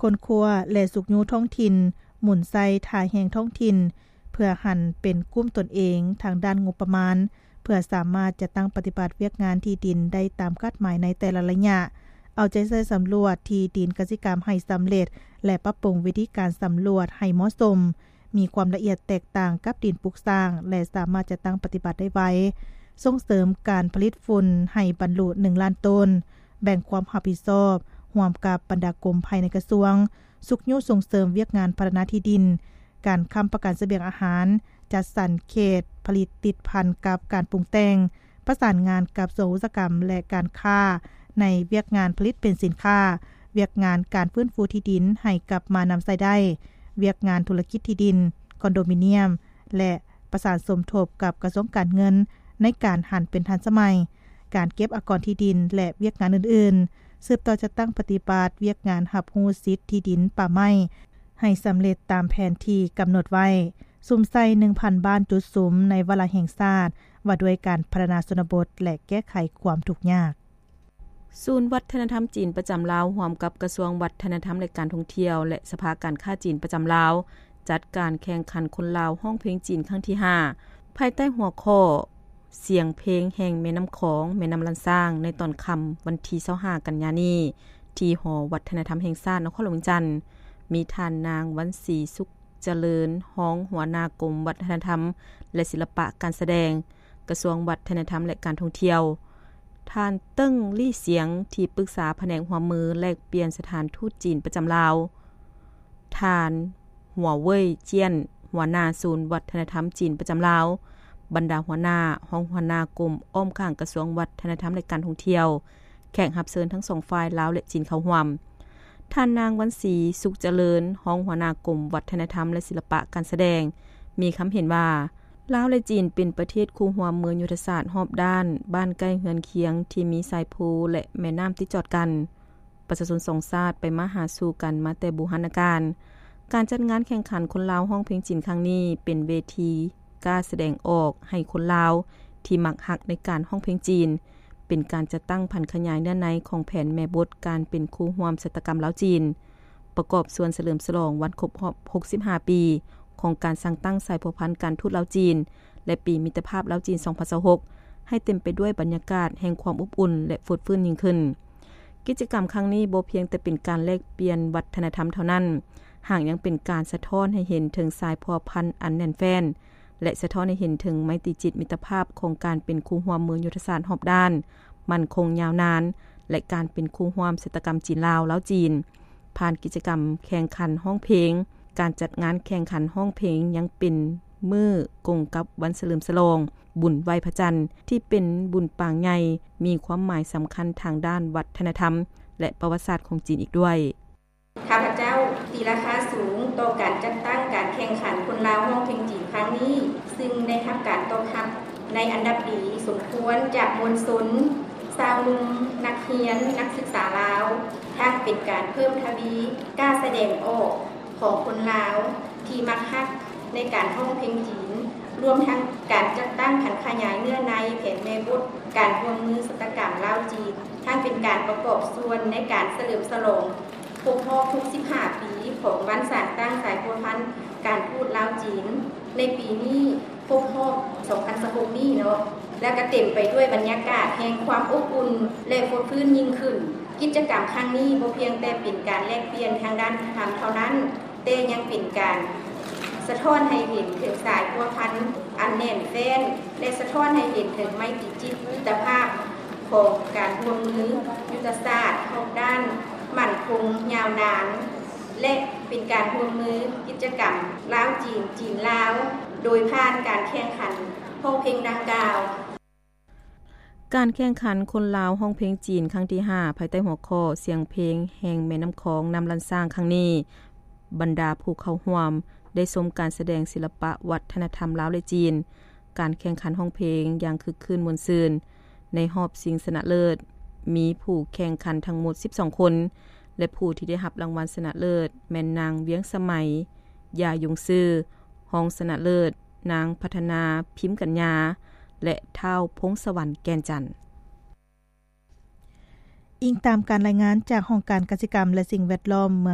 ຄົ້ນຄວ້າ ແລະ ຊຸກຍູ້ທ້ອງຖິ່ນ, ໝູນໃສ່ທ່າແຮງທ້ອງຖິ່ນ ເພື່ອຫັນເປັນກຸ່ມຕົນເອງທາງດ້ານງົບປະມານ ເພື່ອສາມາດຈັດຕັ້ງປະຕິບັດວຽກງານທີ່ດິນໄດ້ຕາມຄາດໝາຍໃນແຕ່ລະໄລຍະ, ເອົາໃຈໃສ່ສຳຫຼວດທີ່ດິນກະສິກຳໃຫ້ສຳເລັດ ແລະ ປັບປຸງວິທີການສຳຫຼວດໃຫ້ເໝາະສົມ, ມີຄວາມລະອຽດແຕກຕ່າງກັບດິນປຸກສ້າງ ແລະ ສາມາດຈັດຕັ້ງປະຕິບັດໄດ້ໄວ, ສົ່ງເສີມການຜະລິດຝຸ່ນໃຫ້ບັນລຸໜຶ່ງລ້ານໂຕນ, ແບ່ງຄວາມຮັບຜິດຊອບຮ່ວມກັບບັນດາກົມພາຍໃນກະຊວງ, ຊຸກຍູ້ສົ່ງເສີມວຽກງານພັດທະນາທີ່ດິນ, ການຄ້ຳປະກັນສະບຽງອາຫານ, ຈັດສັນເຂດຜະລິດຕິດພັນກັບການປຸງແຕ່ງ, ປະສານງານກັບສ່ວນອຸດສາຫະກຳ ແລະ ການຄ້າ ໃນວຽກງານຜະລິດເປັນສິນຄ້າ, ວຽກງານການຟື້ນຟູທີ່ດິນໃຫ້ກັບມານຳໃຊ້ໄດ້, ວຽກງານທຸລະກິດທີ່ດິນ, ຄອນໂດມິນຽມ ແລະ ປະສານສົມທົບກັບກະຊວງການເງິນໃນການຫັນເປັນທັນສະໄໝ, ການເກັບອາກອນທີ່ດິນ ແລະ ວຽກງານອື່ນໆ, ສືບຕໍ່ຈັດຕັ້ງປະຕິບັດວຽກງານຮັບຮູ້ສິດທີ່ດິນປ່າໄມ້ ໃຫ້ສຳເລັດຕາມແຜນທີ່ກຳນົດໄວ້, ສຸມໃສ່ໜຶ່ງພັນບ້ານຈຸດສຸມໃນວາລະແຫ່ງຊາດວ່າດ້ວຍການພັດທະນາຊົນນະບົດ ແລະ ແກ້ໄຂຄວາມທຸກຍາກ. ສູນວັດທະນະທຳຈີນປະຈຳລາວ ຮ່ວມກັບກະຊວງວັດທະນະທຳ ແລະ ການທ່ອງທ່ຽວ ແລະ ສະພາການຄ້າຈີນປະຈຳລາວ ຈັດການແຂ່ງຂັນຄົນລາວຮ້ອງເພງຈີນຄັ້ງທີຫ້າ ພາຍໃຕ້ຫົວຂໍ້ ສຽງເພງແຫ່ງແມ່ນ້ຳຂອງ ແມ່ນ້ຳລ້ານຊ້າງ ໃນຕອນຄ່ຳວັນທີຊາວຫ້າ ກັນຍານີ້ ທີ່ຫໍວັດທະນະທຳແຫ່ງຊາດນະຄອນຫຼວງວຽງຈັນ, ມີທ່ານນາງ ວັນສີ ສຸກຈະເລີນ ຮອງຫົວໜ້າກົມວັດທະນະທຳ ແລະ ສິລະປະການສະແດງ ກະຊວງວັດທະນະທຳ ແລະ ການທ່ອງທ່ຽວ, ທ່ານ ເຕີ້ງ ລີ້ສຽງ ທີ່ປຶກສາພະແນກຮ່ວມມືແລກປ່ຽນສະຖານທູດຈີນປະຈຳລາວ, ທ່ານ ຫົວເຫວີຍ ຈຽນ ຫົວໜ້າສູນວັດທະນະທຳຈີນປະຈຳລາວ, ບັນດາຫົວໜ້າ, ຮອງຫົວໜ້າກົມອ້ອມຂ້າງກະຊວງວັດທະນະທຳ ແລະ ການທ່ອງທ່ຽວ, ແຂກຮັບເຊີນທັງສອງຝ່າຍລາວ ແລະ ຈີນເຂົ້າຮ່ວມ. ທ່ານນາງ ວັນສີ ສຸກຈະເລີນ ຮອງຫົວໜ້າກົມວັດທະນະທຳ ແລະ ສິລະປະການສະແດງ ມີຄຳເຫັນວ່າ ລາວ ແລະ ຈີນເປັນປະເທດຄູ່ຮ່ວມເມືອງຍຸດທະສາດຮອບດ້ານ, ບ້ານໃກ້ເຮືອນຄຽງທີ່ມີຊາຍພູ ແລະ ແມ່ນ້ຳຕິດຈອດກັນ. ປະຊາຊົນສອງຊາດໄປມາຫາສູ່ກັນມາແຕ່ບູຮານນະການ. ການຈັດງານແຂ່ງຂັນຄົນລາວຮ້ອງເພງຈີນຄັ້ງນີ້ ເປັນເວທີກ້າສະແດງອອກໃຫ້ຄົນລາວທີ່ມັກຮັກໃນການຮ້ອງເພງຈີນ, ເປັນການຈັດຕັ້ງຜັນຂະຫຍາຍເນື້ອໃນຂອງແຜນແມ່ບົດການເປັນຄູ່ຮ່ວມຊະຕາກຳລາວຈີນ, ປະກອບສ່ວນສະເຫຼີມສະຫຼອງວັນຄົບຮອບຫົກສິບຫ້າປີຂອງການສ້າງຕັ້ງສາຍພົວພັນການທູດລາວຈີນ ແລະ ປີມິດຕະພາບລາວຈີນສອງພັນຊາວຫົກ ໃຫ້ເຕັມໄປດ້ວຍບັນຍາກາດແຫ່ງຄວາມອົບອຸ່ນ ແລະ ຟົດຟື້ນຍິ່ງຂຶ້ນ. ກິດຈະກຳຄັ້ງນີ້ບໍ່ພຽງແຕ່ເປັນການແລກປ່ຽນວັດທະນະທຳເທົ່ານັ້ນ, ຫາກຍັງເປັນການສະທ້ອນໃຫ້ເຫັນເຖິງສາຍພົວພັນອັນແໜ້ນແຟ້ນ ແລະ ສະທ້ອນໃຫ້ເຫັນເຖິງໄມຕີຈິດມິດຕະພາບຂອງການເປັນຄູ່ຮ່ວມເມືອງຍຸດທະສາດຮອບດ້ານ, ໝັ້ນຄົງຍາວນານ ແລະ ການເປັນຄູ່ຮ່ວມຊະຕາກຳຈີນລາວ, ລາວຈີນ. ຜ່ານກິດຈະກຳແຂ່ງຂັນຮ້ອງເພງ, ການຈັດງານແຂ່ງຂັນຮ້ອງເພງຍັງເປັນມື້ກົງກັບວັນສະເຫຼີມສະຫຼອງບຸນໄຫວ້ພະຈັນ ທີ່ເປັນບຸນປາງໃຫຍ່, ມີຄວາມໝາຍສຳຄັນທາງດ້ານວັດທະນະທຳ ແລະ ປະຫວັດສາດຂອງຈີນອີກດ້ວຍ. ຂ້າພະເຈົ້າຕີລາຄາສູງຕໍ່ການຈັດຕັ້ງການແຂ່ງຂັນຄົນລາວຮ້ອງເພງຈີນຄັ້ງນີ້, ຊຶ່ງໄດ້ຮັບການຕອບຮັບໃນອັນດັບດີສົມຄວນຈາກມວນຊົນ, ຊາວໜຸ່ມ, ນັກຮຽນ, ນັກສຶກສາລາວ, ທັງເປັນການເພີ່ມທະວີກ້າສະແດງອອກຂອງຄົນລາວທີ່ມັກຮັກໃນການຮ້ອງເພງຈີນ, ລວມທັງການຈັດຕັ້ງຜັນຂະຫຍາຍເນື້ອໃນແຜນແມ່ບົດການຮ່ວມມືຊະຕາກຳລາວຈີນ, ທັງເປັນການປະກອບສ່ວນໃນການສະເຫຼີມສະຫຼອງ ຄົບຮອບຫົກສິບຫ້າປີຂອງວັນສ້າງຕັ້ງສາຍພົວພັນການທູດລາວຈີນ ໃນປີນີ້ຄົບຮອບສອງພັນຊາວຫົກນີ້ເນາະ ແລະ ກະເຕັມໄປດ້ວຍບັນຍາກາດແຫ່ງຄວາມອົບອຸ່ນ ແລະ ຟົດຟື້ນຍິ່ງຂຶ້ນ. ກິດຈະກຳຄັ້ງນີ້ບໍ່ພຽງແຕ່ເປັນການແລກປ່ຽນທາງດ້ານວັດທະນະທຳເທົ່ານັ້ນ, ແຕ່ຍັງເປັນການສະທ້ອນໃຫ້ເຫັນເຖິງສາຍພົວພັນອັນແໜ້ນແຟ້ນ ແລະ ສະທ້ອນໃຫ້ເຫັນເຖິງໄມຕີຈິດມິດຕະພາບຂອງການຮ່ວມມືຍຸດທະສາດຮອບດ້ານໝັ້ນຄົງຍາວນານ ແລະ ເປັນການຮ່ວມມືກິດຈະກຳລາວ-ຈີນ, ຈີນ-ລາວ ໂດຍຜ່ານການແຂ່ງຂັນຮ້ອງເພງດັ່ງກ່າວ. ການແຂ່ງຂັນຄົນລາວຮ້ອງເພງຈີນຄັ້ງທີຫ້າ ພາຍໃຕ້ຫົວຂໍ້ ສຽງເພງແຫ່ງແມ່ນ້ຳຂອງ ນ້ຳລ້ານຊ້າງ ຄັ້ງນີ້, ບັນດາຜູ້ເຂົ້າຮ່ວມໄດ້ຊົມການສະແດງສິລະປະວັດທະນະທຳລາວ ແລະ ຈີນ, ການແຂ່ງຂັນຮ້ອງເພງຢ່າງຄຶກຄື້ນມ່ວນຊື່ນ. ໃນຮອບຊິງຊະນະເລີດ ມີຜູ້ແຂ່ງຂັນທັງໝົດສິບສອງຄົນ ແລະ ຜູ້ທີ່ໄດ້ຮັບລາງວັນຊະນະເລີດ ແມ່ນນາງ ວຽງສະໄໝ ຢາຍົງຊື່, ຮອງຊະນະເລີດ ນາງ ພັດທະນາ ພິມກັນຍາ ແລະ ທ້າວ ພົງສະຫວັນ ແກ່ນຈັນ. ອີງຕາມການລາຍງານຈາກຫ້ອງການກະສິກຳ ແລະ ສິ່ງແວດລ້ອມເມືອງ